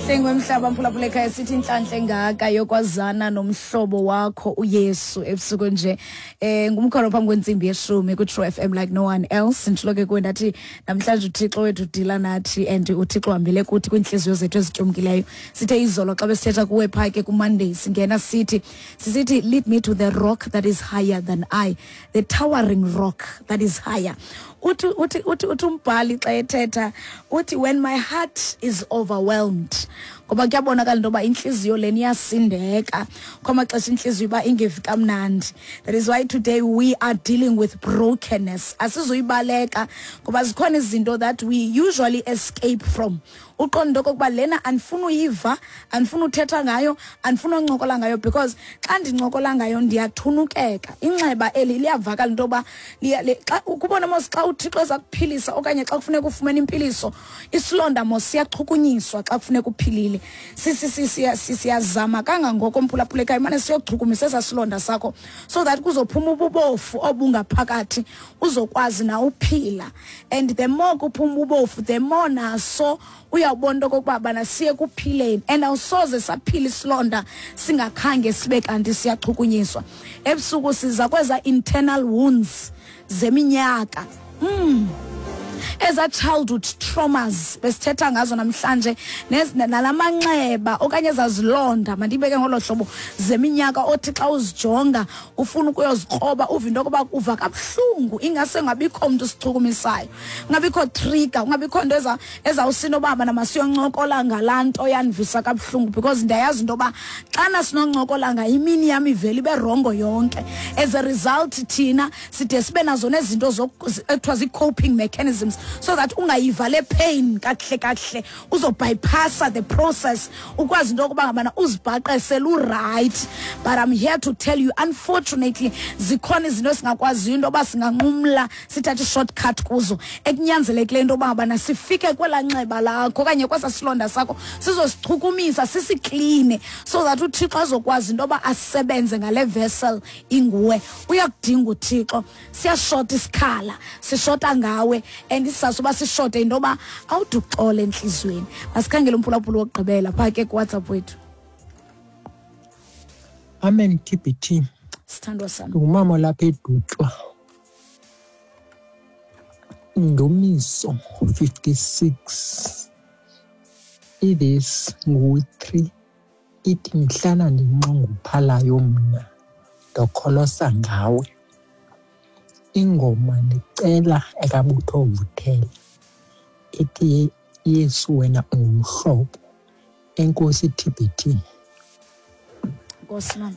Sengwemhlaba mphulaphula ekhaya, sithi inhlanhla engaka yokwazana nomhlobo wakho uYesu ebusuku nje. Ngumkholo phambi kwentsimbi yeshumi ku-True FM like no one else. Nditshilo ke kuwe ndathi namhlanje uThixo wethu udila nathi and uThixo uhambele kuthi kwiintliziyo zethu ezityumkileyo. Sithe izolo xa besithetha kuwe phaa ke kuMonday, singena sithi sisithi lead me to the rock that is higher than I, the towering rock that is higher. Uthi umbhali xa ethetha uthi, "When my heart is overwhelmed," ngoba kuyabonakala into yoba intliziyo lena iyasindeka kwamaxesha, intliziyo uba ingevi kamnandi. That is why today we are dealing with brokenness. Asizuyibaleka ngoba zikhona izinto that we usually escape from, uqonda into okokuba lena andifuna uyiva, andifuna uthetha ngayo, andifuna uncokola ngayo, because xa ndincokola ngayo ndiyathunukeka. Inxeba eli liyavakala into yoba xa ukubona mos, xa uThixo eza kuphilisa okanye xa kufuneka ufumene impiliso, isilonda mos siyachukunyiswa. Xa kufuneka uphilile, siyazama kangangoko, mphulaphulekayo, imane siyochukumisa esaa silonda sakho so that kuzophuma ububofu obungaphakathi, uzokwazi na uphila. And the more kuphuma ububofu, the more naso uyawubona into okokuba bana siye kuphileni, and awusoze saphila isilonda singakhange sibe kanti siyachukunyiswa. Ebusuku siza kweza internal wounds zeminyaka, eza childhood traumas besithetha ngazo namhlanje, nalamanxeba okanye ezazilonda, mandibeke ngolo hlobo, zeminyaka othi xa uzijonga ufuna ukuyozikroba, uva into yokuba uva kabuhlungu, ingase ungabikho mntu usichukumisayo, ungabikho trigger, ungabikho nto ezawusinobaba namasiyoncokola ngalaa nto yandivisa kabuhlungu, because ndiyayazi into yoba xana sinoncokola ngayo imini yam ivele ibe wrong yonke. As a result, thina side sibe nazo nezinto ekuthiwa zii-coping mechanisms so that ungayiva le pain kakuhle kakuhle, uzobypassa the process, ukwazi into yokuba ngabana uzibhaqe selu-right. But I'm here to tell you, unfortunately, zikhona izinto esingakwaziyo into yoba singanqumla sithathe i-shortcut kuzo, ekunyanzelekileyo into yoba ngabana sifike kwelaa nxeba lakho okanye kwesaa silonda sakho, sizosichukumisa, sisikline, so that uThixo azokwazi into yoba asebenze ngale vessel inguwe. Uyakudinga uThixo. Siyashota isikhala, sishota ngawe, and isizathu uba sishote into yoba awude uxole entliziyweni. Masikhangele umphulaphuli wokugqibela phaa ke kuWhatsApp wethu. Amen, TBT. Sithandwa sam. Ngumama lapha eDutywa. Ndumiso 56 ivesi ngu-3 ithi, "Mhlana ndinxunguphalayo mna ndokholosa ngawe." Ingoma ndicela ekaButho Vuthela ethi "Yesu Wena Ungumhlobo". Enkosi, TBT. Nkosi, mama.